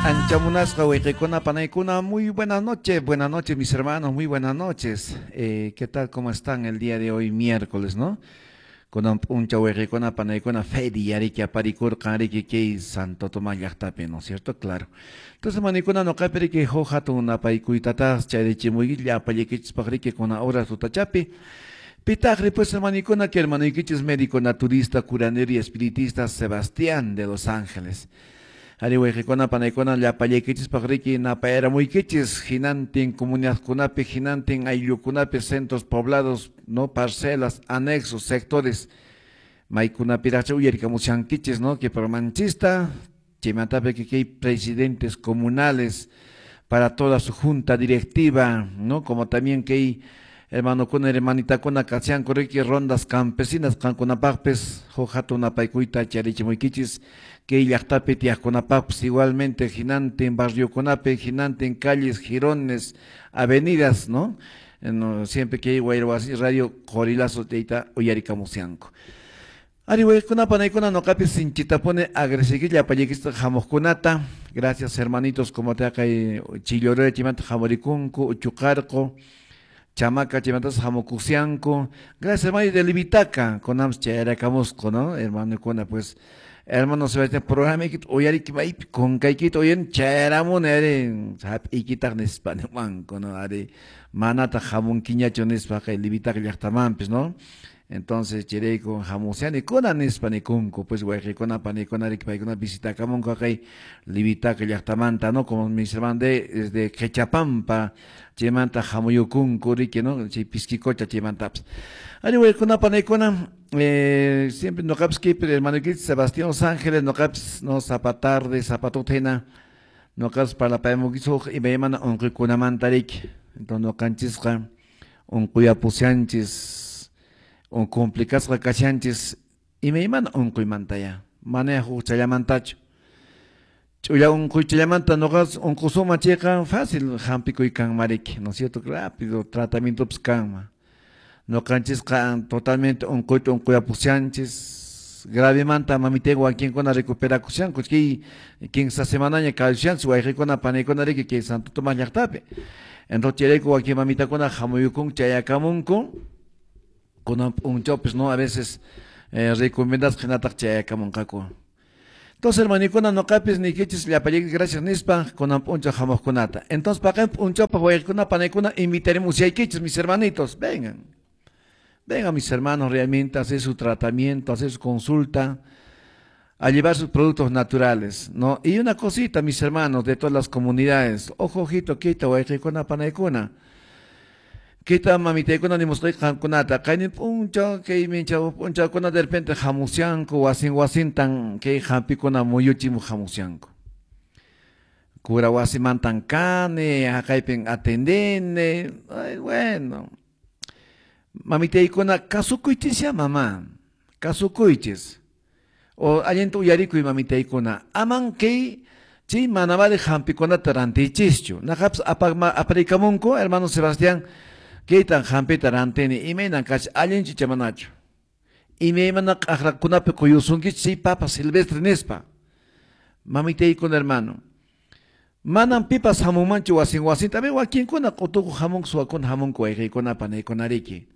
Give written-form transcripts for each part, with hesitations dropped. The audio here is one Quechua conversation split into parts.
Ancha munasqa wayqikuna panaykuna, muy buenas noches, buenas noches, mis hermanos, muy buenas noches. ¿Qué tal? ¿Cómo están el día de hoy, miércoles, no? Kunan p'unchaw wayqikuna panaykuna feria riki aparikurqan riki kay Santo Tomás llaqtapi, ¿no es cierto? Claro. Entonces, manikuna nuqapi riki huk hatun napaykuytataq chayrichimuyki llapallaykichispaq riki kuna horas tutachapi. Pitaqri pues, hermanikuna, que hermanuykichis médico naturista, curandero y espiritista Sebastián de Los Ángeles. Ari wayqikuna panaykuna llapallaykichispaq riki napayramuykichis hinantin comunidadkunapi, hinantin ayllukunapi, centros poblados, no parcelas, anexos, sectores, maykunapiraqcha uyarikamushankichis, ¿no? Que programanchista, chaymantapi que hay presidentes comunales para toda su junta directiva, ¿no? Como también que hay hermanokuna, hermanitakuna kashanku riki rondas campesinas qankunapaqpis huk hatun napaykuyta charichimuykichis kay llaqtapi tiyaqkunapaqpis igualmente hinantin barriokunapi, hinantin calles, jirones, avenidas, ¿no? No, siempre que hay Wayrawasi Radio Qorilazo tayta uyarikamusyanku. Ari wayqikuna panaykuna nuqapis sinchitapuni agradecekilla llapallaykichista hamuqkunata. Gracias, hermanitos, como te kay Chillorera chaymanta hamurikunku, Uchuqarqu, Chamaca chaymantas hamukusianku. Gracias, hermano de Livitaca, kunanpas chayrakamusqu, ¿no? Hermanokuna, pues, hermano Sebastián, programa uyariki maypi kunkaykita uyan chayramuni ari hap'iykitaq nispa niwanku, ¿no? Ari manataq hamunkiñachu nispa kay Livitaca llaqtamanpis, ¿no? Entonces chayrayku hamusiani kuna nispa nikunku, pues wayqikuna panikuna riki paykuna visitakamunku kay Livitaca llaqtamanta, ¿no? Como mis hermanos desde Quechapampa chaymanta hamuyukunku riki, ¿no? Chay Pisquicocha chaymantapas. Ari wayqikuna panaykuna, siempre nuqapis kaypi hermano Sebastián Los Ángeles, nuqapis, no, sapa tarde, sapa tuta hina nuqapis parlapayamunkichis huk imaymana unquykunamanta riki. Entonces nuqanchisqa unquyapushanchis, un complicasqa kashanchis imaymana unquymantaya, mana hukchallamantachu. Ch'ulla unquychallamanta nuqas unqusunman chayqa fácil hampikuy kanman riki, ¿no es cierto? Rápido tratamientopas kanman. Nuqanchisqa totalmente unquyta unquyapushanchis, gravemanta mamitayqa wakinkuna recuperakushanku, kay 15 semanaña kawsashanchis wayqikuna panaykuna riki kay Santo Tomás llaqtapi. Entonces chayrayku wakin mamitakuna hamuyukunku chayakamunku, kunan p'unchawpis, ¿no? A veces recomendasqa hinataq chayakamunqaku. Entonces, hermanikuna, nuqapis niykichis llapallaykichis gracias nispa kunan p'unchaw hamuqkunata. Entonces, paqarin p'unchawpaq wayqikuna panaykuna invitaremos yaykichis, mis hermanitos, vengan. Vengan, mis hermanos, realmente a hacer su tratamiento, a hacer su consulta, a llevar sus productos naturales, ¿no? Y una cosita, mis hermanos, de todas las comunidades, ojo, ojito, kita, wayqikuna, panaykuna. Kita mamitaykuna nimusqayki qamkunata, kaynin p'unchaw, kay minchaw p'unchawkuna de repente hamusyanku, wasin wasintan kay hampikuna muyuchimuq hamusyanku. Cura wasimantan kani, haqaypin atendini, ay, bueno. Mamitaykuna, kasukuychis ya, mamá, kasukuychis. O allinta uyarikuy mamitaykuna, aman kay chay mana vale hampikunata rantichischu. Naqapis aparikamunku, hermano Sebastián, kaytan hampita rantini, imaynan kachi allinchu chamanachu. Imaymana q'aqrakunapi quyusunkichis chay papa silvestre nispa. Mamitaykuna, hermano, manam pipas hamunmanchu wasin wasinta, a ver, wakinkuna q'utuku hamunku, suwakuna hamunku wayqiykuna panaykuna riki.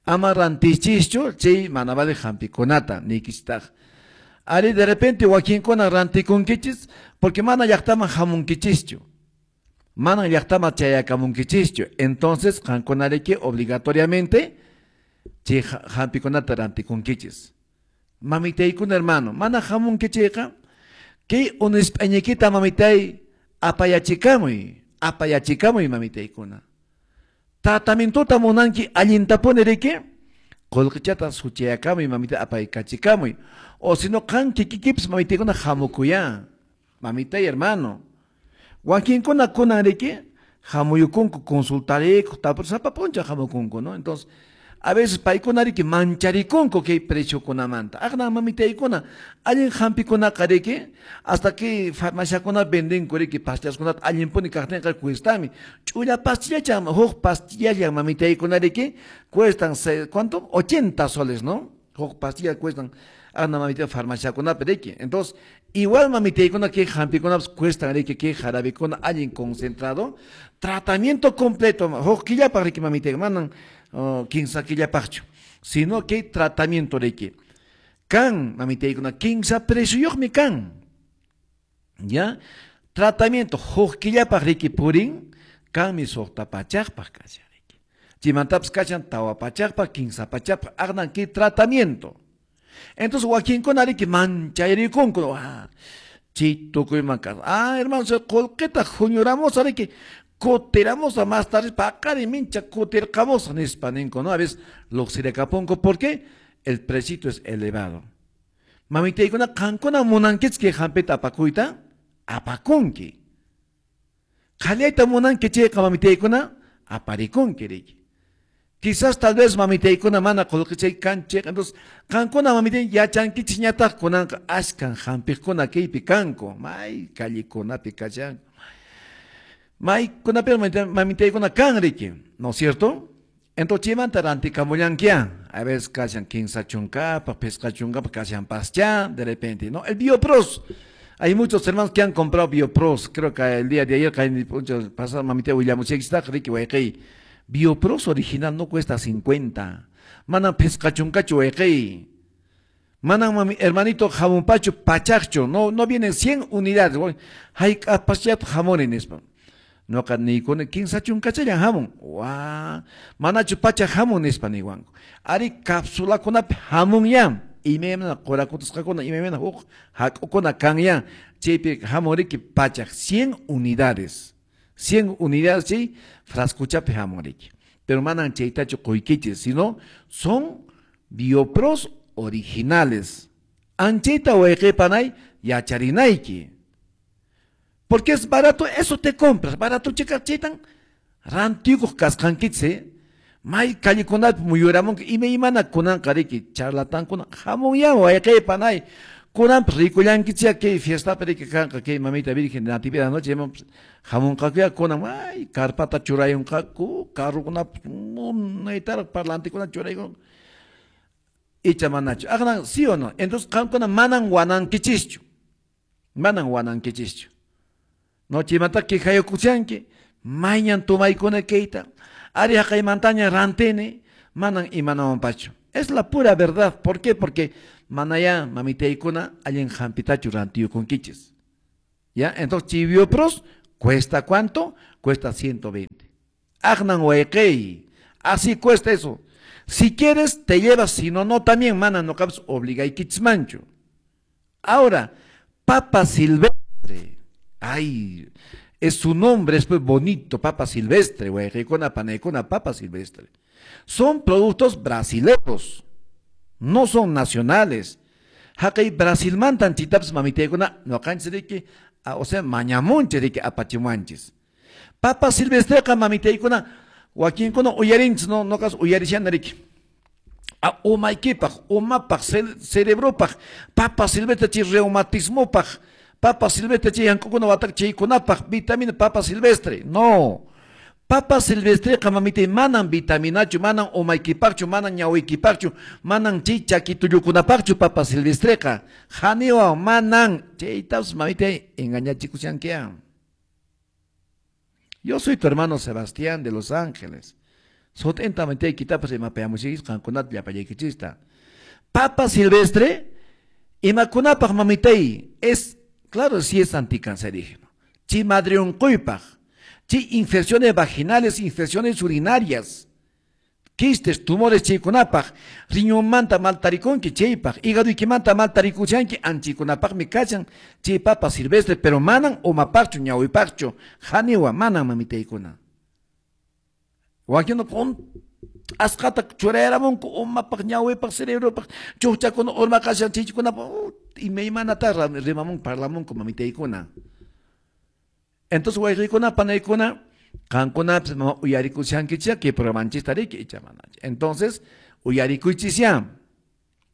Ama rantichischu chay mana vale hampikunata niykichistaq. Ari de repente wakinkuna rantikunkichis porque mana llaqtaman hamunkichischu. Mana llaqtaman chayakamunkichischu. Entonces qankuna riki obligatoriamente chay hampikunata rantikunkichis. Mamitaykuna, hermano, mana hamunkichiyqa kay unisp'añaykita mamitay apayachikamuy, apayachikamuy mamitaykuna. Tratamientota munanki allintapuni riki qullqichata suchayakamuy mamita apaykachikamuy. O si no qan kikikipis mamitaykuna hamukuya. Mamitay, hermano. Wakinkuna kunan riki hamuyukunku consultarikuq, tapur sapa p'unchaw hamukunku, ¿no? Entonces, a veces paykuna riki mancharikunku kay preciokunamanta. Aqna mamitaykuna allin hampikunaqa riki hasta que farmaciakuna vendinku riki pastillaskunata allinpuni kaqtinqa cuestami. Ch'ulla pastillachan huk pastillallan mamitaykuna riki cuestan, ¿cuánto? 80 soles, ¿no? Huk pastilla cuestan. Ana mamita farmaciakunapi riki. Entonces, igual mamitaykuna kay hampikunapas cuestan riki, kay jarabikuna allin concentrado, tratamiento completo, huk killapaq riki mamitay, manan 15 killapaqchu, sino que tratamiento riki. Kan mamitaykuna 15 precioyuqmi kan. ¿Ya? Tratamiento huk killapaq riki purin, kanmi 6 pachaqpaq kashan riki. Chimantapas kashan 4 pachaqpaq, 15 pachaqpaq, aqnan kay tratamiento. Entonces, wakinkuna riki manchayrikunku, chay tukuyman kas. Ah, hermano, qullqita huñuramusa riki, kutiramusa más tarde, paqari mincha kutirqamusa nispa ninku, ¿no? A veces luqsirakapunku, ¿por qué? El precito es elevado. Mamitaykuna, qankuna munankichik kay hampita apakuyta, apakunki. Qhallayta munanki chayqa mamitaykuna, aparikunki riki. Quizás tal vez mamitaykuna mana qullqichay kanchik, entonces qankuna mamitay yachankichikñataq kunanqa ashkan hampiqkuna kaypi kanku, may callekunapi kashanku. Maykunapi mamitaykuna kan riki, ¿no es cierto? Entonces chaymanta rantikamullankiya, a veces kashan 15 chunkapaq, 5 chunkapaq, kashan pascha, de repente, ¿no? El Biopros. Hay muchos hermanos que han comprado Biopros, creo que el día de ayer, pasado mamita willamuchikistaq riki wayqey. Biopros original no cuesta 50. Manan pescachuncacho wayqey. Manan mami, hermanito jamonpacho pachacho, no, no vienen 100 unidades. Hayk'apaschat jamones nispa. Noqa niykuni 15 chunkachallan jamon. Wa, manachu pacha jamon nispa niwanku. Ari cápsulakunapi jamon ya. Imaymana qurakutusqakuna, imaymana huk hak'ukuna kan ya. Chaypi jamon riki pachaq 100 unidades. 100 unidades chay frascochapi jamon riki. Pero manan chaytachu quykichis, sino son Biopros originales. Anchayta wayqipanay yacharinayki. Porque es barato, eso te compras. Barato chika chaytan rantikuq kasqankichis, may callekunapi muyuramunki imaymana kunanqa riki charlatankuna hamun ya wayqipanay. Kunanpas rikullankichik kay fiestapi riki kanqa kay mamita Virgen de Natividad noche hamunqakuya kunan ay carpata churayunqaku carrukunapas munaytaraq parlantekuna churayun icha manachu aqnan sí o no. Entonces qamkuna manan wanankichischu, manan wanankichischu. No chaymanta quejayukuchanki mayñan tomaykuna kayta ari haqaymantaña rantini manan imanawanpachu. Es la pura verdad. ¿Por qué? Porque manaya mamitaykuna allin hampitachu rantiyukunkichis. ¿Ya? Entonces Biopros cuesta ¿cuánto? Cuesta 120. Aqnan wayqey. Así cuesta eso. Si quieres te llevas, si no, no también mana no cabes obligaykichmanchu. Ahora, papa silvestre. Ay, es su nombre, es pues bonito, papa silvestre, wayqeykuna panaykuna papa silvestre. Son productos brasileños, no son nacionales. Haqay Brasilmantan chitapas mamitaykuna noqanchis riki, o sea, mañamunchis riki apachimuanchis. Papa silvestreqa mamitaykuna wakinkuna uyarinchis, no, noqas uyarishana riki. Umaykipaq, umapaq, cerebropaq, papa silvestre chay reumatismopaq, papa silvestre chay yankukuna wataq chaykunapaq, vitamina papa silvestre. No. Papa silvestreqa mamitay manan vitaminachu, manan umaykipaqchu, manan ñawiykipaqchu, manan chay chakitullukunapaqchu papa silvestreqa. Haniwa manan chaytapas mamitay engañachikushankiya. Yo soy tu hermano Sebastián de Los Ángeles. Sotenta mamitay kitapas imapayamushikis qankunata llapallaykichista. Papa silvestre imakunapaq mamitay es, claro, sí es anticancerígeno. Chi madreonquypaq. Sí, infecciones vaginales, infecciones urinarias, quistes, tumores chaykunapaq, riñonmanta maltarikunki chaypaq, hígadoykimanta maltarikuchanki anchikunapaqmi kachan chay papa silvestre, pero manan umapaqchu ñawipaqchu, haniwa manan mamitaykuna. Wakinqa con asqata churayaramunku umapaq ñawipaq cerebropaq, chuqchakuna urmaqashan chaykunapaq, imaymanata rimamunku parlamunku mamitaykuna. Entonces, wayqikuna, panaykuna, qankunapas uyarikushankichik kay programanchista riki icha manachu. Entonces, uyarikuychisya.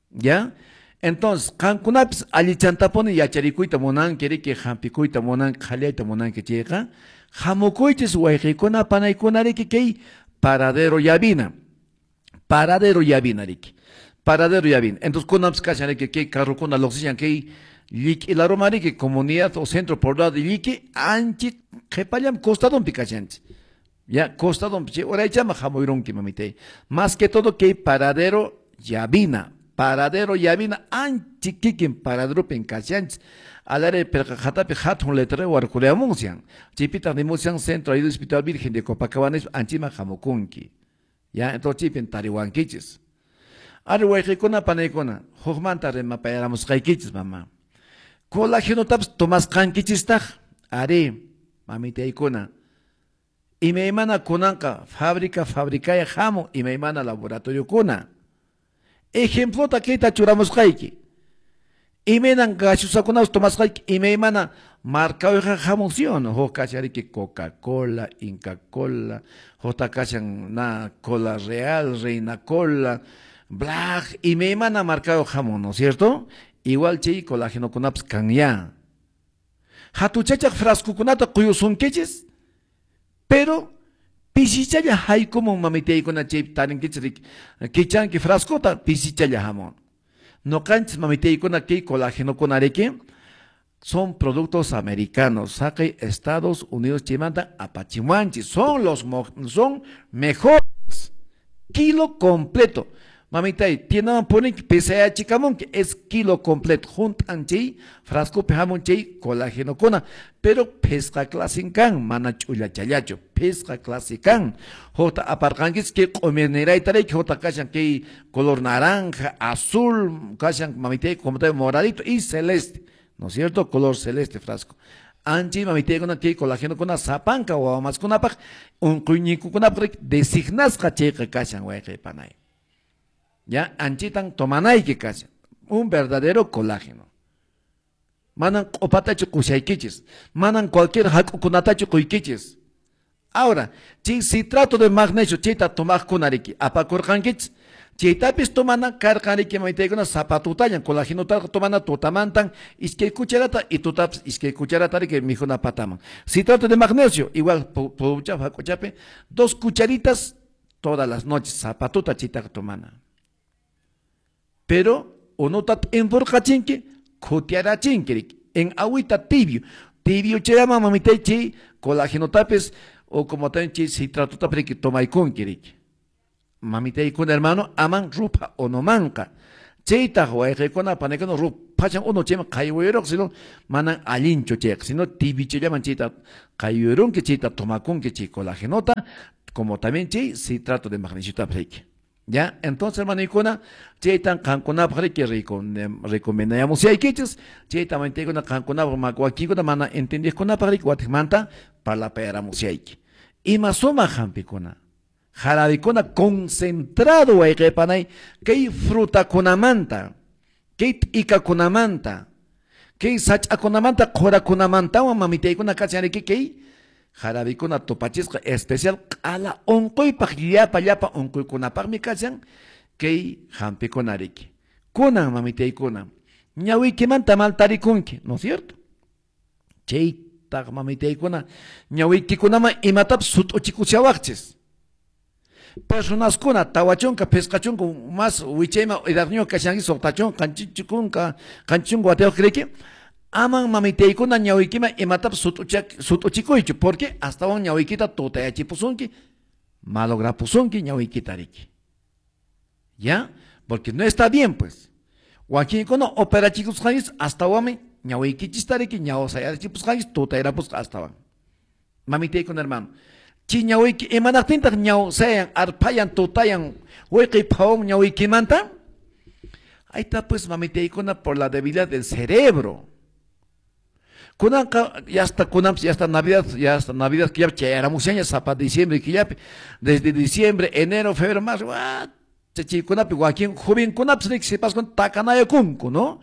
¿Ya? Entonces, qankunapis allichantapuni yacharikuyta munanki riki, hampikuyta munanki, qhallayta munanki chayqa, hamukuychis wayqikuna, panaykuna riki kay paradero llavina. Paradero llavina riki. Paradero Llavina. Entonces, kunanpis kashan riki kay carrokuna lluqsishan kay Lliq'i laruman riki comunidad o centro poblado de Lliqui anchi qhipallam costadonpi kashanchik. Ya, costadonpi chay uraychama hamuyrunki mamitay. Más que todo kay Paradero Llavina. Paradero Llavina anchi kikin paraderopin kashanchik. Alare pirqa qhatapi hatun letrero warkuriamunsian. Chaypitaq nimushan Centro Ayuda Espiritual Virgen de Copacabana anchiman hamukunki. Ya, entonces chaypin tariwankichis. Ari wayqikuna panaykuna, hukmanta rimapayaramusqaykichis mama. Colágenotapas tomasqankichistaq, ari, mamitaykuna. Imaymana kunanqa fábrica fabricaya hamun imaymana laboratoriokuna. Ejemplota kayta churamusqayki. Imaynan gaseosakunapas tomasqayki imaymana markayuqqa hamun, ¿sí o no? Huk kashan Coca-Cola, Inca Cola, hukta kashan na Cola Real, Reina Cola, Black, imaymana markayuq hamun, ¿no es cierto? Igual chay colágenokunapas kan ya. Hatuchachaq frascokunata quyusunkichis, pero pisichalla haykumun mamitaykuna chay tarinkichis kichanki frascota pisichalla hamun. Noqanchis mamitaykuna kay colágenokuna riki son productos americanos, saqay Estados Unidos chaymanta apachimuanchis, son los son mejores. Kilo completo. Mamitay, tiendaman poninki pesayachikamunki, es kilo completo. Juntan chay frascopi hamun chay colágenokuna, pero pisqa clasin kan, mana ch'ullachallachu, pisqa clase kan. Hukta aparqankichis kay q'umirnirayta riki, hukta kashan kay color naranja, azul, kashan mamitay, como te moradito y celeste, ¿no es cierto? Color celeste frasco. Anchi mamitaykuna kay colágenokuna sapanka wawamaskunapaq unquyninkukunapaq designasqa chayqa kashan wayqi panay. Ya, anchitan tomanayki kashan, un verdadero colágeno. Manan q'upatachu qushaykichis, manan cualquier hak'ukunatachu quykichis. Ahora, chay citrato de magnesio chayta tomaqkuna riki, apakurqankichis, chaytapis tomana karqan riki mamitaykuna sapatutallan, colágenotaqa tomana tutamantan iskay cucharata y tutapis iskay cucharata riki mikhuna pataman. Citrato de magnesio, igual puchapi hak'uchapi, 2 cucharitas todas las noches, sapatuta chaytaqa tomana. Pero unuta t'inpurqachinki, khutiarachinki riki, en agüita tibio. Tibio chayama mamitay chay colágenotapis o como también chay citratotapis riki tomaykunki riki. Mamitaykuna hermano, aman rupa onomanqa. Chaytaq wayqikuna panaykuna ruphachan uno chayman qaywayuruq, sino manan allinchu chayqa, sino tibio chayllaman chayta qaywayurunki, chayta tomakunki chay colágenota, como también chay citrato de magnesiotapis riki. Ya, entonces, hermano, chaytan qankunapaq riki recomendayamusaykichis, chayta mamitaykuna qankunapaq wakinkuna mana entendiqkunapaq riki watiqmanta parlapayaramusayki. Ima sumaq hampikuna, jarabikuna concentrado wayqipanay kay frutakunamanta, kay t'ikakunamanta, kay sach'akunamanta, qhurakunamantawan mamitaykuna kashan riki kay jarabikuna tupachisqa especial q'ala unquypaq llapa llapa unquykunapaqmi kashan kay hampikuna riki. Kunan mamitaykuna ñawiykimanta mal tarikunki, ¿no es cierto? Chaytaq mamitaykuna ñawiykikunaman imatapas sut'uchikushawaqchis. Personaskuna tawachunka pisqachunka más wichayman edadniyuq kashanki suqtachunka qanchichunka qanchichunka watayuq riki. Aman mamitaykuna ñawiykiman imatapas sut'uchikuychu, porque astawan ñawiykita tutayachipusunki, malograpusunki ñawiykita riki. ¿Ya? Porque no está bien, pues. Wakinkuna operachikusqanchis astawanmi ñawiykichista riki, ñawsayachipusqanchis tutayarapusqa astawan. Mamitaykuna hermano, chay ñawiyki imanaqtintaq ñawsayan, arphayan, tutayan, wiqi phawan ñawiykimanta? Ahí está, pues, mamitaykuna, por la debilidad del cerebro. Kunanqa ya hasta kunanpis, ya hasta Navidad, ya hasta Navidad que ya chayaramushaña sapa diciembre killapi, desde diciembre, enero, febrero, marzo, chaykunapi wakin jovenkunapis riki sipaskuna takanayakunku, ¿no?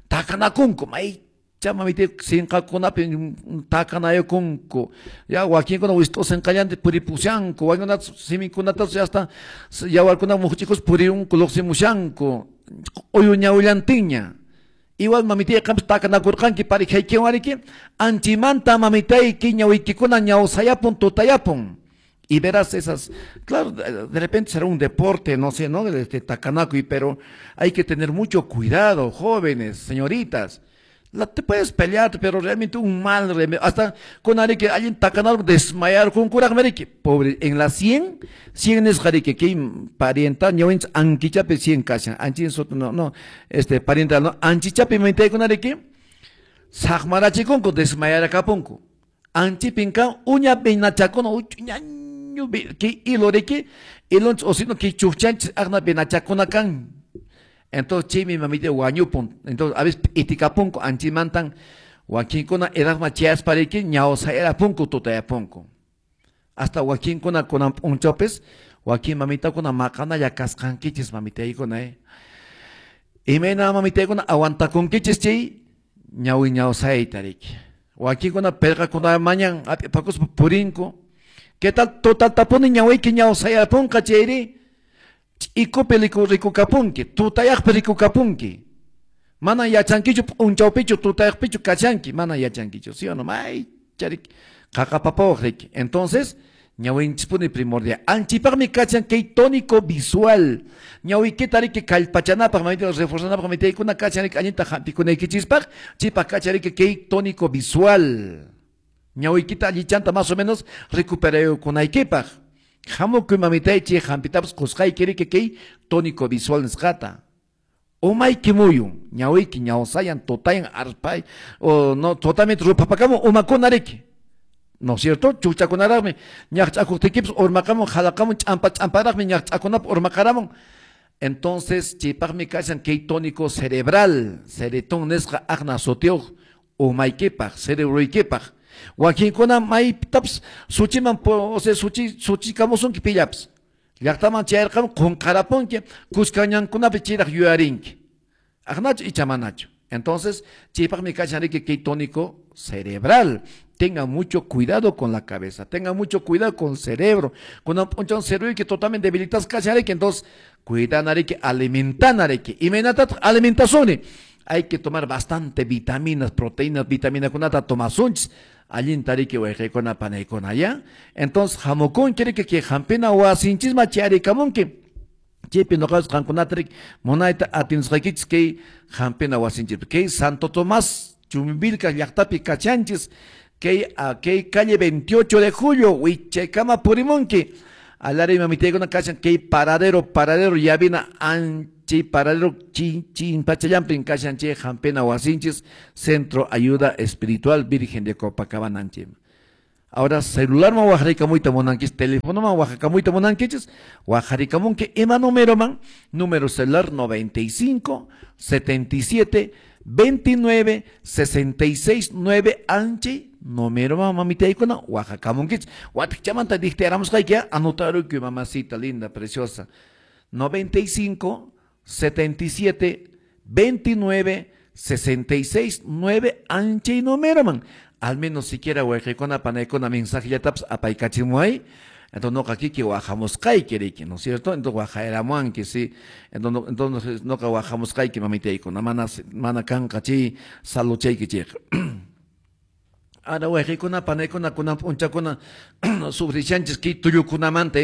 Takanakunku, maycha mamita sinqakunapi takanayakunku, ya wakinkuna wist'usinqallanta puripushanku, wakinkunata siminkunatapas ya hasta yawarkuna muqchikus purirunku luqsimushanku, q'uyu ñawillantinña. Igual mamitay qampas takanakurqanki parejaykiwan riki, anchimanta mamitayki ñawiykikuna ñawsayapun tutayapun. Y verás esas, claro, de repente será un deporte, no sé, ¿no? Este takanakuy, pero hay que tener mucho cuidado, jóvenes, señoritas. Te puedes pelear, pero realmente un mal remedio. Hasta con que alguien takanal desmayar con kuraq meriki. Pobre, en la 100, 100 es jarike, que parienta, ñawinch anquichape 100 kashan. Anchin soto, no, no, parienta, no, anchichape mente con areke, sakmarachikunku, desmayar akapunku. Anchipinka, uña peinachakono, uñañu, que iloreke, ilonch osino que chuchanch, agna penachakona kan. Entonces, chimi mamite wañupun. Entonces, a veces itikapunku, anchimantan, wakinkuna edadma chiaspariki, ñawsayarapunku, tutayapunku. Hasta wakinkuna kunan p'unchawpis, wakin mamitakuna maqanalla kasqankichis mamitaykuna, Imayna mamitaykuna aguantakunkichis chay ñawi ñawsayta riki. Wakinkuna perqakuna mañan ap'ipakuspa purinku. ¿Qué tal total tapuni ñawiyki ñawsayarapunqa chayri? Ch'ikupi rikukapunki, tutayaqpi rikukapunki. Mana yachankichu p'unchawpichu tutayaqpichu kachanki, mana yachankichu, ¿sí o no? May charik qaqapapawaq riki. Entonces, ñawinchispuni primordial. Anchipaqmi kachan kay tónico visual. Ñawiykita riki kallpachanapaq, mamita reforzanapaq, mamitaykuna kachan riki allinta hampikunaykichispaq, chipaq kachan riki kay tónico visual. Ñawiykita allichanta más o menos recuperaykunaykipaq. Hamukuy mamitay chay hampitapas qusqayki riki kay tónico visual nisqata. Umayki muyun, ñawiyki ñawsayan, tutayan, arpay, o no, totalmente rupapakamun umakuna riki. ¿No es cierto? Chuchakunaraqmi, ñaqch'akuqtiykipas urmaqamun, jalaqamun, ch'ampa ch'amparaqmi, ñaqch'akunapaq urmaqaramun. Entonces, chaypaqmi kashan kay tónico cerebral, ceretón nisqa aqna sutiyuq umaykipaq, cerebroykipaq. Wakinkuna maypitapas suchiman, o sea, suchikamusunki pillapas. Llaqtaman chayarqamun qunqarapunki, kuskañankunapi chayraq yuyarinki. Aqnachu icha manachu. Entonces, chaypaqmi kashan riki kay tónico cerebral. Tenga mucho cuidado con la cabeza, tenga mucho cuidado con el cerebro. Cuando un cerebro que totalmente debilitas kashan riki, entonces, cuidan riki, alimentan riki. Y menatat alimentación. Hay que tomar bastante vitaminas, proteínas, vitamina kunata tomasunchis. Allinta riki wayqaykuna panaykuna, ¿ya? Entonces, hamukun quiere que hampina wasinchisma chayarikamunki. Chaypi noqapas qankunata riki munayta atinsqaykichis kay hampina wasinchis. Kay Santo Tomás Chumbivilcas llaqtapi kachanchis. Kay, kay calle 28 de julio, wichaykama purimunki. Alari mamitaykuna kachan kay paradero, paradero yavina anchi paradero chin chin pachallampin kachan chay hampina wasinchis, Centro Ayuda Espiritual Virgen de Copacabana anchi. Ahora celular ma wajarikamuyta munankichis, teléfono ma wajarikamuyta munankichis, wajarikamunki ima número man, número celular 95 77 29 66 9 anchi número ma mamitaykuna wajakamunkichis. Watikchamanta dictearamusqayki, anotarukuy mamacita linda, preciosa. 95 77 29 66 9 anchi número man. Al menos siquiera wayqaykuna panaykuna mensajellatapas apaykachimuay. Entonces noqa kiki wajamusqayki riki, ¿no es cierto? Entonces wajayramuanki, sí. Entonces noqa wajamusqayki mamitaykuna, mana mana kanqa chay saluchayki chayqa. Ahora wayqaykuna panaykuna kunan p'unchakuna sufrishanchis kay tullukunamanta,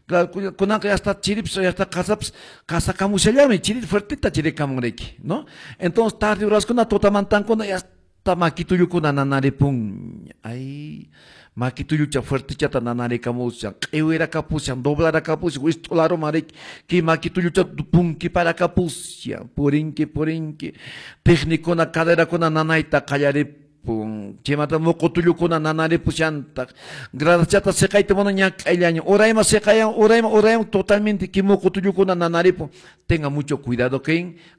Claro, kunanqa ya está chirips, ya está qasapas, qasakamushallanmi, chiri fuertita chirikamun riki, ¿no? Entonces tarde uraskuna tutamantankuna ya está makitullukuna nanaripun. Ay, makitullucha fuertichata nanarikamushan, q'iwirakamushan, doblarakamushan, wist'ularuman riki, kay makitullucha punkiparakamushan, purinki, purinki, técnicuna, caderakuna nanayta qallaripun, chaymanta muqutullukuna nanaripushantaq, gradachata siqayta mana ñak'ayllaña, urayman siqayan, urayman, urayman, totalmente kay muqutullukuna nanaripun. Tenga mucho cuidado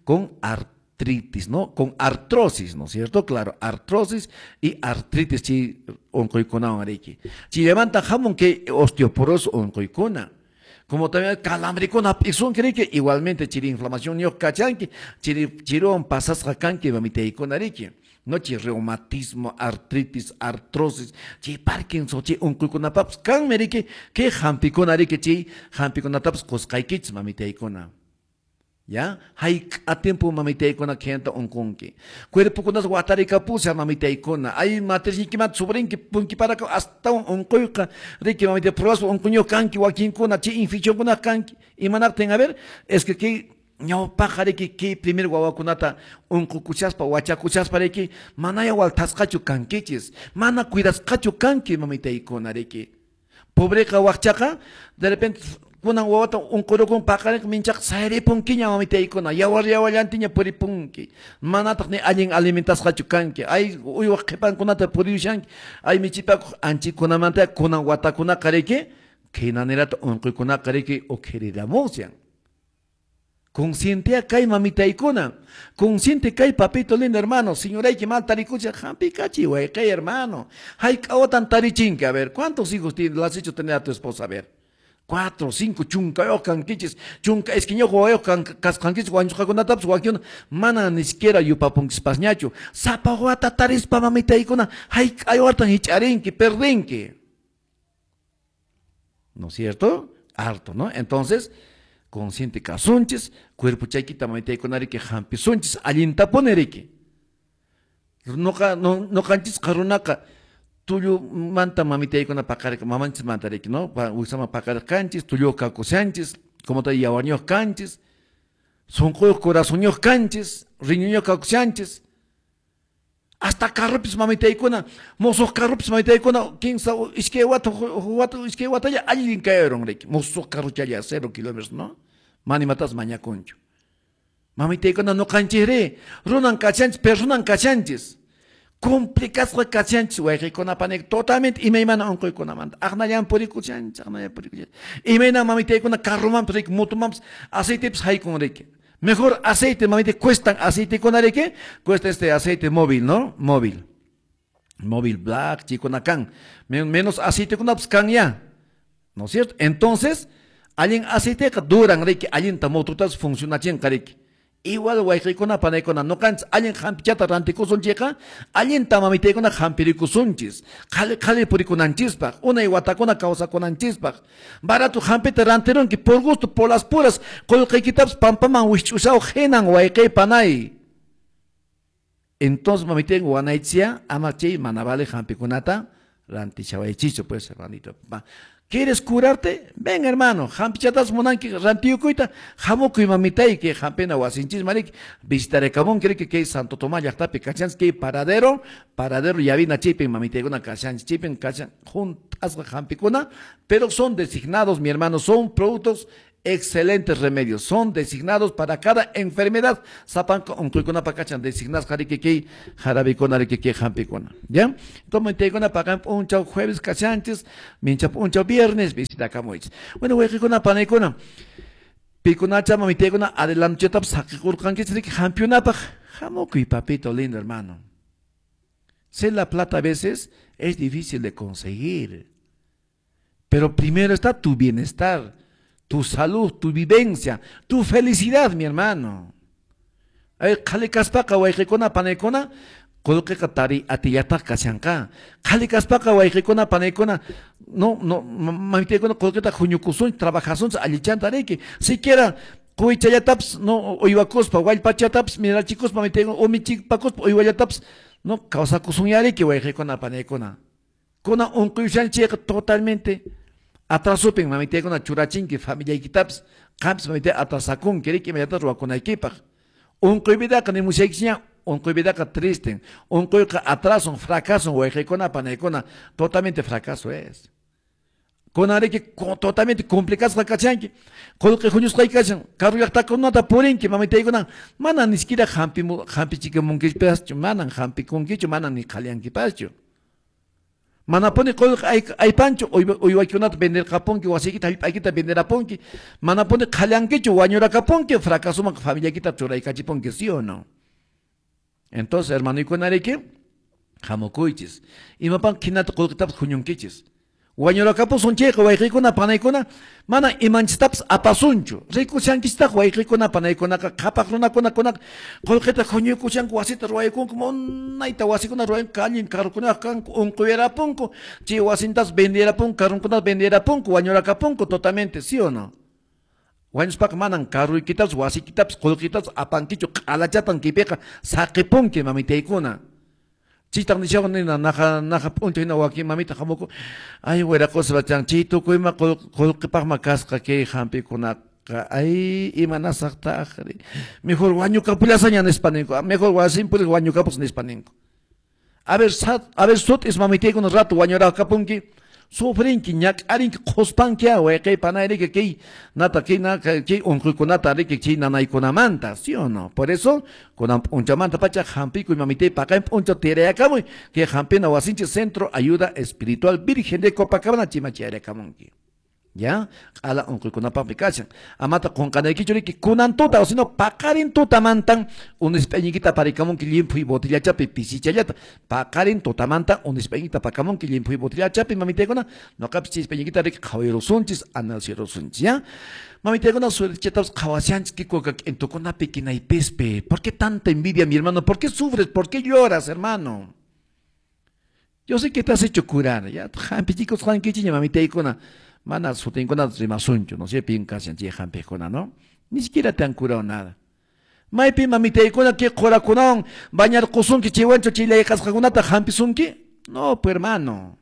con artritis, ¿no? Con artrosis, ¿no es cierto? Claro, artrosis y artritis chi onquykunawan riki. Chaymanta hamun kay osteoporosis onqoykuna. Como también calambricuna p'isunki riki, igualmente chiri inflamación ñuq kachanki, chiri chiruwan pasasqa kanki mamitaykuna riki. No chi reumatismo, artritis, artrosis, chi Parkinson, chi unquykunapapas kanmi riki, kay hampikuna riki, chi hampikunatapas qusqaykichis mamitaykuna. Ya, hayk'a tiempo mamitaykuna khenta unqunki. Cuerpokunas watarikapusha mamitaykuna. Ay matrisniykimanta sobrinki punkiparaka astawan unquyqa. Riki mamita pruebas unquñuq kanki wakinkuna chay infeccionkuna kanki. Imanaqtin, a ver, es que kay ñawpaqa riki kay primer wawakunata unqukuchaspa wachakuchaspa riki manaya waltasqachu kankichis, mana cuidasqachu kanki mamitaykuna riki. Pobreqa waqchaqa de repente kunan wawata unqurukun paqarinqa minchaqa sayripunkiña mamitaykuna, yawar yawallantiña puripunki, manataq ni allin alimentasqachu kanki, ay uywaq qhipankunata puriyushanki, ay michipakuq anchikunamanta kunan watakunaqa riki khinanirata unquykunaqa riki ukhiriramushan. Consciente kay mamitaykuna, consciente kay papito lindo hermano, señorayki mal tarikucha hampikachi wayqay hermano, hayk'a watan tarichinki, a ver, ¿cuántos hijos tienes, las has hecho tener a tu esposa? A ver, 4, 5, chunkayuq kankichis, chunka iskayñuq wawayuq kasqankichis, wañusqakunatapas wakin mana ni siquiera yupapunkispasñachu. Sapa wata tarispa mamitaykuna, hayk'a watan hich'arinki, perdinki. ¿No es cierto? Harto, ¿no? Entonces, consciente kasunchis, cuerpo chaykita mamitaykuna riki hampisunchis, allintapuni riki. Noqa, no, noqanchisqa runaqa tullumanta mamitaykuna paqariq, mamanchismanta riki, ¿no? Wiksaman paqariq kanchis, tulluyuq kakushanchis, como te yawarniyuq kanchis, sunquyuq corazonyuq kanchis, riñunyuq kakushanchis. Hasta carropis mamitaykuna, musuq carropis mamitaykuna, kinsa, iskay wata, wata, iskay watalla allin kayarun riki, musuq carrochalla 0 kilómetros, ¿no? Mana imatas mañakunchu. Mamitaykuna noqanchis runan kachanchis, personan kachanchis. Complicasqa kachanchis wayqikuna panik totalmente imaymana unquykunamanta. Aqnallan purikuchanchis, aqnallan purikuchanchis. Imayna mamitaykuna carromanpas riki, motomanpas aceitepis haykun riki. Mejor aceite, mamita, cuestan aceitekuna riki, cuesta este aceite móvil, ¿no? Móvil. Móvil black, chikuna kan. Menos aceitekunapas kan ya. ¿No es cierto? Entonces, allin aceiteqa duran riki, allinta mototas funcionachinqa riki. Igual wayqikuna panaykuna noqanchis allin hampichata rantikusunchikqa, allinta mamitaykuna hampirikusunchis, qhali qhali purikunanchispaq, unay watakuna kawsakunanchispaq. Barato hampita rantirunki por gusto, por las puras, qullqiykitapas pampaman wikch'ushaw hinan wayqiy panay. Entonces mamitayku wanaychia ama chay mana vale hampikunata rantichawaychichu pues hermanito. ¿Quieres curarte? Ven, hermano. Hampichatas munanki rantiyukuyta, hamukuy mamitayki, hampina wasinchis mariki, visitarekamun, cree que Santo Tomás llaqtapi kachanchis, que paradero, paradero yavina chipin, mamitaykuna kachanchis, chipin, kachan, juntasqa hampikuna, pero son designados, mi hermano, son productos excelentes remedios, son designados para cada enfermedad. Sapanco, unquykuna kachan, designados jarikiki, jarabikuna, rikiki, hampikuna. ¿Ya? Entonces, mamitaykuna pagan punchaw jueves kachanchis, mincha punchaw viernes, visita kamuich. Bueno, wayqikuna panaykuna, pikunacha mamitaykuna adelantuchatapas saqikurqankichis riki hampiunapaq, hamukuy papito lindo hermano. Sé la plata a veces es difícil de conseguir, pero primero está tu bienestar, tu salud, tu vivencia, tu felicidad, mi hermano. Ay, qhali kaspaqa wayqikuna panaykuna, qullqiqa tari atillataq kashanqa. Qhali kaspaqa wayqikuna panaykuna, no, no, mamitaykuna qullqita huñukusunchis, trabajasunchis, allichanta riki. Siquiera quychallatapas, no, uywakuspa, wallpachatapas, mirachikuspa, mamitaykuna, umichipakuspa, uywallatapas, no, kawsakusunya riki wayqikuna panaykuna. Kuna unquyushanchikqa totalmente atrasupin mamitaykuna churachinki familiaykitapas, qampis mamitay atrasakunki riki imayata ruwakunaykipaq. Unquy vidaqa nimushaykichña, unquy vidaqa tristen, unquyqa atrason, fracason, wayqikuna panaykuna, totalmente fracaso es. Kunan riki totalmente complicasqa kachanki, qullqi huñusqayki kachan, karu llaqtakunata purinki mamitaykuna, mana ni siquiera hampichikamunkipaschu, manan hampikunkichu, manan ni qhalyankipaschu. Manapuni qullqi aypanchu, uywaykunata venderqapunki, wasiykita hallp'aykita venderapunki, manapuni qhallankichu, wañurakapunki, fracasuman familiaykita churaykachipunki, ¿sí o no? Entonces, hermanoykuna riki, hamukuychis. Imapan qhinata qullqitapas huñunkichis. Wañurakapusunchayqa wayqikuna panaykuna, mana imanchistapas apasunchu. Rikushankichitaq wayqikuna panaykunaqa, qhapaq runakuna kunaqa qullqita huñuykushanku, wasita ruwaykunku, munayta wasikuna ruwayanku, allin carrukunaq kanku, unquyarapunku, chay wasintas venderapunku, carrunkunas venderapunku, wañurakapunku totalmente, ¿sí o no? Wañuspaqa manan carruykitapas, wasiykitapas, qullqitapas apankichu, q'alachatan kaypiqa saqipunki mamitaykuna. Chaytaq nishawan nina naqa p'unchay hina wakin mamita hamuku, ay wiraqosa bachan, chay tukuyma qullqipaqma kasqa kay hampikunaqa, ay imanasaqtaqri, mejor wañukapullasaña nispa ninku, mejor wasin puris wañukapus nispa ninku. A ver, sut'is mamitaykuna rato wañurakapunki, sufrinki, ñak'arinki, qhuspanki wayqey panayriki kay nata kay kay unquykunata riki chay nanaykunamanta, ¿sí o no? Por eso, kunan p'unchamanta pacha hampikuy mamitay paqarin p'unchaw tirayakamuy, kay hampina wasinchik Centro Ayuda Espiritual Virgen de Copacabana chimachayarakamunki. ¿Ya? Q'ala unquykunapaqmi kashan. Amata qunqanaykichu riki kunan tuta, o sino paqarin tutamantan unisp'ayniykita aparikamunki llimphuy botillachapi pisichallata. Paqarin tutamanta unisp'ayniykita apakamunki llimphuy botillachapi mamitaykuna, noqapis chay isp'ayniykita riki qhawayrusunchis, analizarunchis, ¿ya? Mamitaykuna suertechatapas qhawashanchis kikuka k'intukunapi kinaypispi. ¿Por qué tanta envidia, mi hermano? ¿Por qué sufres? ¿Por qué lloras, hermano? Yo sé que te has hecho curar, ¿ya? Hampichikusqankichiña mamitaykuna. Mana sutinkuna rimasunchu, no sé, pin kashan chay hampikuna, ¿no? Ni siquiera te han curado nada. Maypi mamitaykuna kay qurakunawan bañarqusunki chaywanchu chay layqasqakunata hampisunki? No, pues hermano.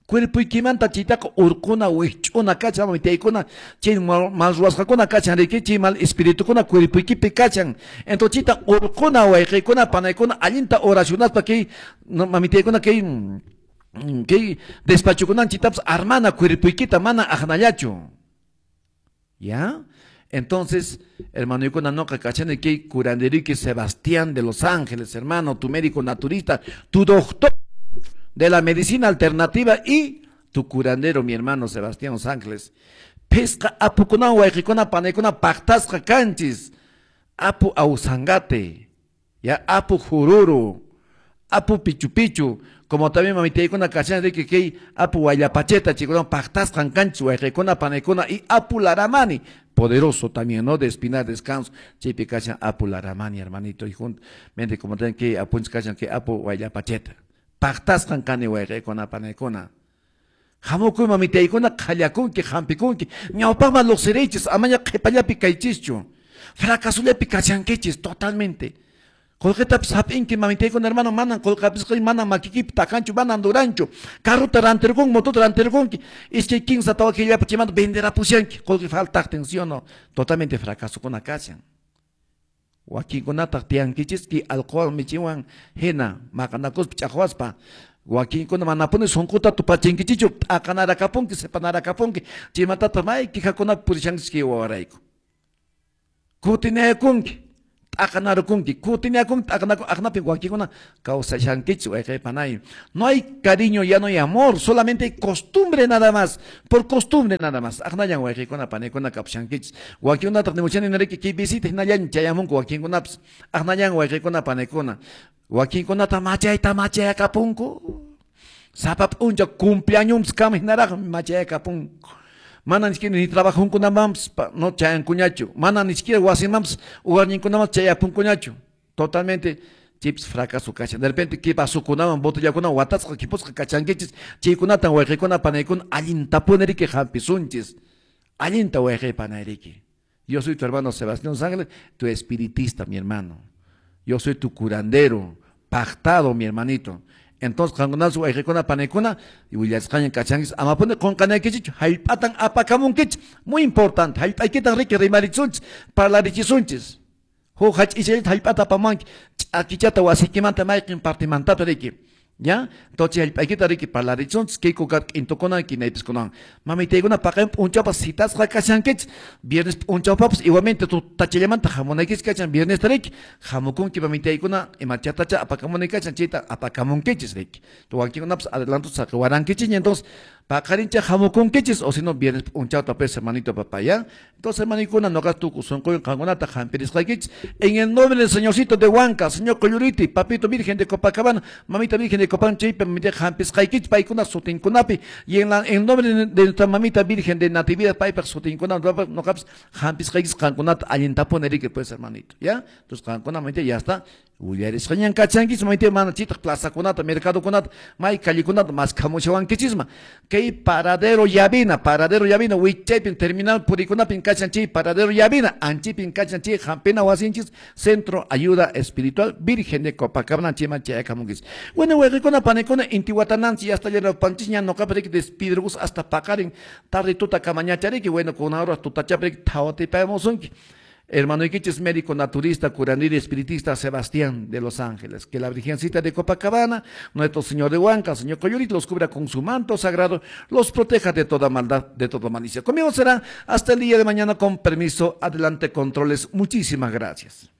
Cuerpuykimanta chaytaqa urquna wikch'una kachan mamitaykuna, chay mal ruwasqakuna kachan riki, chay mal espiritukuna cuerpuykipi kachan. Entonces chayta urquna wayqiykuna panaykuna allinta oracionaspa kay mamitaykuna kay kay despachukunan chitapas armana cuerpuykita mana aqnallachu. ¿Ya? Entonces, hermano, noqa kachani kay curanderiki Sebastián de Los Ángeles, hermano, tu médico naturista, tu doctor de la medicina alternativa y tu curandero, mi hermano Sebastián Los Ángeles. Pesca apukunan wayqikuna panaykuna paqtasqa kanchis. Apu ausangate, ya apu jururu, apu pichu pichu, como también mamitaykuna kachani riki kay apu wayllapacheta chikuna paqtasqan kanchis wayqikuna panaykuna y apu laramani, poderoso también, ¿no? De Espinar Descanso, chaypi kachan apu laramani, hermanito, y juntamente como también que apunchis kachan kay apu wayllapacheta. Paqtasqan kani wayqikuna panaykuna. Hamukuy mamitaykuna qhallakunki hampikunki, ñawpaqman luqsiriychis, amaña qhipallapi kaychischu. Fracasullapi kachankichis totalmente. Qullqitapas hap'inki mamitaykuna hermano, manan qullqapisqa manan makikipi takanchu, manan duranchu. Carruta rantirqunki, motota rantirqunki, iskay kinsa tawa killapi chaymanta venderapushanki, qullqi faltaqtin, ¿sí o no? Totalmente fracasokuna kashan. Wakinkunataq tiyankichis kay alcohol michiwan hina maqanakuspa ch'aqwaspa. Wakinkuna manapuni sunquta tupachinkichichu, t'aqanarakapunki, sepanarakapunki, chaymantataq may quejakunapi purishankichis kay wawarayku. Kutinayakunki, t'aqanarukunki, kutinayakunki, t'aqanaku, aqnapi wakinkuna kawsashankichis wayqey panay. No hay cariño, ya no hay amor, solamente hay costumbre nada más, por costumbre nada más. Aqnallan wayqeykuna panaykuna kapushankichis. Wakinkunataq nimuchani niriki kay visita hinallan chayamunku wakinkunapas. Aqnallan wayqeykuna panaykuna. Wakinkunata machayta machayakapunku. Sapa p'unchaw cumpleaños kama hinaraqmi machayakapunku. Mana ni siquiera ni trabajunkunamanpas no chayankuñachu, mana ni siquiera wasimanpas ugarninkunaman chayapunkuñachu. Totalmente chips fracaso kachan. De repente kay vasukunaman botellakunawan watasqa kipusqa kachankichis, chaykunatan wayqeykuna panaykuna allintapuni riki hampisunchis. Allinta wayqey panayriki. Yo soy tu hermano Sebastián Ángeles, tu espiritista, mi hermano. Yo soy tu curandero, pactado, mi hermanito. Entonces, qankunapas wayqikuna panaykuna willasqaña kachankichis, amapuni qunqanaykichichu, hallp'atan apakamunkichis, muy importante, hallp'aykitan riki rimarisunchis, parlarichisunchis. Huk hach'ichallata hallp'ata apamunki, ch'akichata wasiykimanta mayqin partimantata riki. ¿Ya? Entonces, hallp'aykita riki parlarisunchis, kay kukata k'intukuna kinaypiskunawan. Mamitaykuna paqarin p'unchawpas citasqa kashankichis, viernes p'unchawpapas igualmente tutachallamanta hamunaykichis kachan, viernesta riki, hamukunki mamitaykuna imachatacha apakamunay kachan, chayta apakamunkichis riki. Wakinkunapas adelanto saqiwarankichis, entonces paqarincha hamukunkichis, o si no viernes p'unchawta pues hermanito papá, ¿ya? Entonces, hermanikuna, noqa tukuy sunquywan qankunata hampirisqaykichis, en el nombre del Señorcito de Huanca, Señor Colluriti, Papito Virgen de Copacabana, Mamita Virgen de Copacabana, chaypi mamita hampisqaykichis, paykuna sutinkunapi, y en el nombre de nuestra mamita Virgen de Natividad, paypaq sutinkuna, noqapas hampisqaykichis qankunata allintapuni riki pues hermanito, ¿ya? Entonces, qankuna mamita ya está. Willarisqañan kachankichisman, maypi mana chitaq plazakunata, mercadokunata, may callekunata maskhamushawankichisman. Kay paradero Llavina, paradero Llavina, wichaypin terminal purikunapin kachan chay paradero Llavina, anchipin kachan chay hampina wasinchis, Centro Ayuda Espiritual Virgen de Copacabana, chayman chayakamunkichis. Bueno, wayqikuna, panikuna, intiwatananchis, ya hasta llanapanchisña, noqapi despidrgus hasta paqarin, tarde tuta kamañachariki, bueno, con ahora tutachaprik thawatipayamusunki. Hermano Iquiches, médico naturista, curandero espiritista Sebastián de Los Ángeles. Que la Virgencita de Copacabana, nuestro Señor de Huanca, Señor Coyurit, los cubra con su manto sagrado, los proteja de toda maldad, de toda malicia. Conmigo será hasta el día de mañana, con permiso. Adelante, controles. Muchísimas gracias.